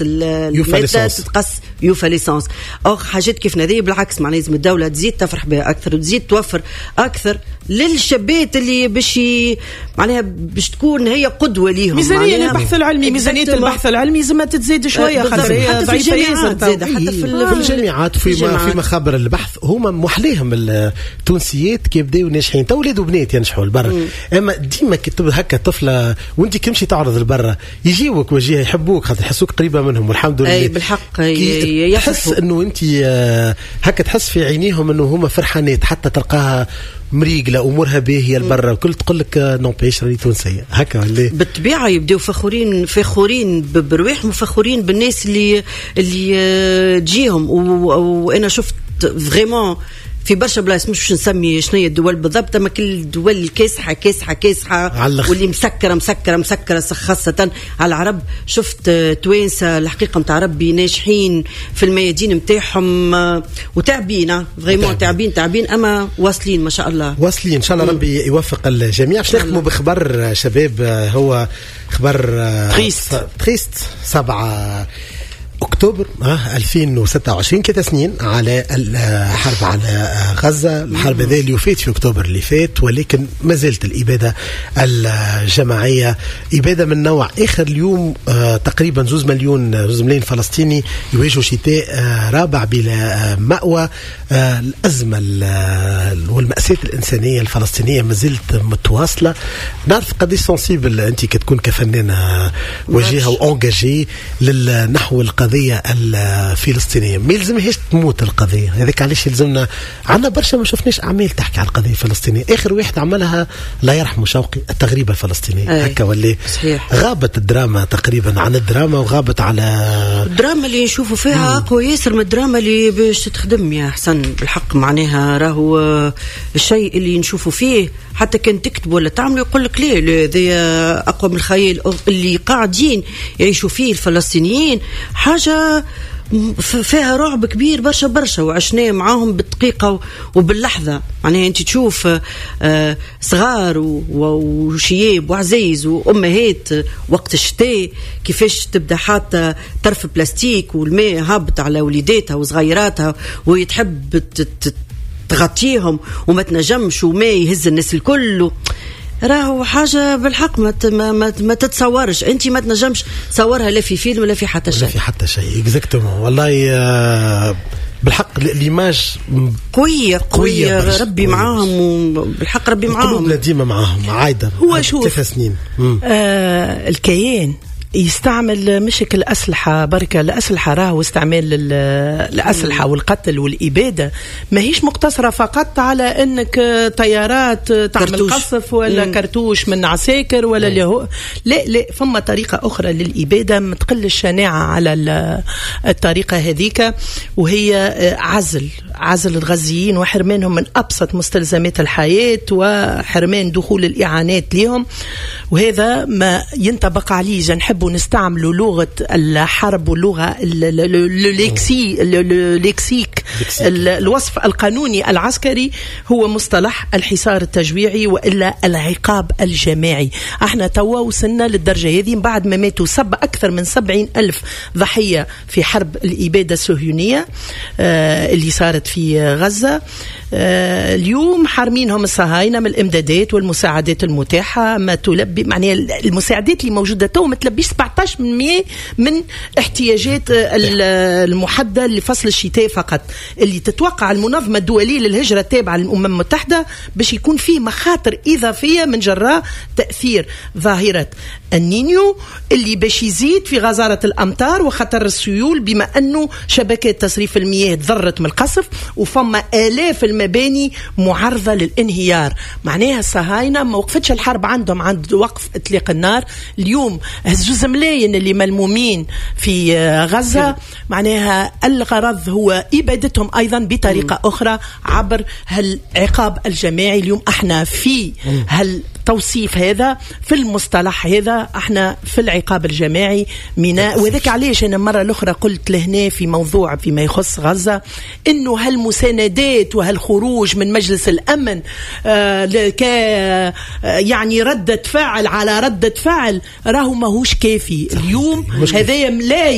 المادة تتقص يوفى l'essence. or حاجات كيف هذه بالعكس، معناها لازم الدولة تزيد تفرح بها اكثر وتزيد توفر اكثر للشابات اللي باش معناها باش تكون هي قدوة ليهم. ميزانية للبحث العلمي، ميزانية البحث العلمي لازم تزيد شويه، خاطر هي حتى في الجامعات زاد، حتى في الجامعات، في مخابر البحث. هما محليهم التونسيات كي يبداو ناجحين، تو ولاد وبنات ينجحوا لبرا، اما ديما كي هكا طفله وانت كي تعرض لبرا يجيوك وجهه يحبوك خاطر يحسوك قريبه منهم، والحمد لله. اي بالحق. تحس انه انت هكا تحس في عينيهم انه هما فرحانات، حتى تلقاها مريقله امورها باهيه لبرا وكل، تقول لك n'empêche راني تونسية هكا ولا؟ بالطبيعه، يبداو فخورين، فخورين برواحهم وفخورين بالناس اللي تجيهم. وانا شفت vraiment في برشا بلايص، مش باش نسمي شنو هي الدول بالضبط، اما كل الدول الكاسحه كاسحه كاسحه واللي مسكره مسكره مسكره، خاصة على العرب، شفت توانسة الحقيقة نتاع ربي ناجحين في الميادين نتاعهم وتعبين، vraiment تعبين تعبين، اما واصلين ما شاء الله. واصلين، ان شاء الله ربي يوفق الجميع. باش نختموا بخبر شباب، هو خبر triste. triste. 7 اكتوبر 2026، 3 سنين على الحرب على غزه. الحرب هذه اللي وفات في اكتوبر اللي فات، ولكن ما زالت الابادة الجماعية ابادة من نوع اخر. اليوم تقريبا 2 مليون، 2 ملايين فلسطيني يواجهوا شتاء رابع بلا مأوى. الازمة والمأساة الانسانية الفلسطينية ما زالت متواصله. نعرف قديش sensible انت كتكون كفنانه وجيهة و engagée نحو القضية الفلسطينيه. ما يلزمهاش تموت القضية هذاك، علاش يلزمنا عندنا برشا ما شفناش اعمال تحكي على القضية الفلسطينيه. اخر واحد عملها الله يرحمه شوقي، التغريبه الفلسطينيه. هكا ولا؟ صحيح. غابت الدراما تقريبا عن الدراما وغابت على الدراما اللي نشوفوا فيها اقوى ياسر من الدراما اللي باش تخدم يا حسن. بالحق معناها راهو الشيء اللي نشوفوا فيه، حتى كان تكتب ولا تعمل يقول لك ليه هذا اقوى من الخيال. اللي قاعدين يعيشوا فيه الفلسطينيين حاجة فيها رعب كبير برشا برشا، وعشناه معاهم بالدقيقة وباللحظة. معناها أنت تشوف صغار وشياب وعزايز وأمهات وقت الشتاء كيفاش تبدا حاطة طرف بلاستيك والماء هابط على وليداتها وصغيراتها، وهي تحب تغطيهم وما تنجمش، وما يهز الناس الكل. راهو حاجة بالحق ما تتصورش انت، ما تنجمش تصورها لا في فيلم ولا في حتى شيء. ولا في حتى شيء، exactement. والله بالحق l'image قوية قوية، قوية، ربي معاهم، بالحق ربي معاهم. قلوبنا ديما معاهم عايدة. هو شوف 3 سنين. الكيان يستعمل مش الأسلحة بركة. الأسلحة راهو استعمال الأسلحة والقتل والإبادة ماهيش مقتصرة فقط على أنك طيارات تعمل كرتوش. قصف ولا كرتوش من عساكر ولا اللي هو. لا لا، فما طريقة أخرى للإبادة ما تقل الشناعة على الطريقة هذيك، وهي عزل الغزيين وحرمانهم من أبسط مستلزمات الحياة وحرمان دخول الإعانات لهم. وهذا ما ينطبق عليه إذا نحبوا نستعملوا لغة الحرب واللغة le lexique، الوصف القانوني العسكري، هو مصطلح الحصار التجويعي والا العقاب الجماعي. احنا توا وصلنا للدرجة هذه من بعد ما ماتوا اكثر من 70 ألف ضحية في حرب الابادة الصهيونية اللي صارت في غزه. اليوم حارمينهم الصهاينة من الامدادات والمساعدات المتاحه، ما تلبي معناها المساعدات اللي موجودة تو ما تلبيش 17% من احتياجات المحددة لفصل الشتاء فقط، اللي تتوقع المنظمة الدولية للهجرة التابعة للامم المتحدة باش يكون فيه مخاطر اضافية من جراء تاثير ظاهره النينيو اللي باش يزيد في غزارة الامطار وخطر السيول، بما انه شبكات تصريف المياه تضرت من القصف وفما الاف المباني معرضه للانهيار. معناها الصهاينة ما وقفتش الحرب عندهم عند وقف اطلاق النار. اليوم 2 ملايين اللي ملمومين في غزه، معناها الغرض هو ابادتهم ايضا بطريقة اخرى عبر هالعقاب الجماعي. اليوم احنا في هالتوصيف هذا، في المصطلح هذا، احنا في العقاب الجماعي. من وذاك علاش انا المرة الاخرى قلت لهنا في موضوع فيما يخص غزة انه هالمساندات وهالخروج من مجلس الامن ك يعني ردة فعل على ردة فعل راهو ماهوش كافي. اليوم هذايا لا.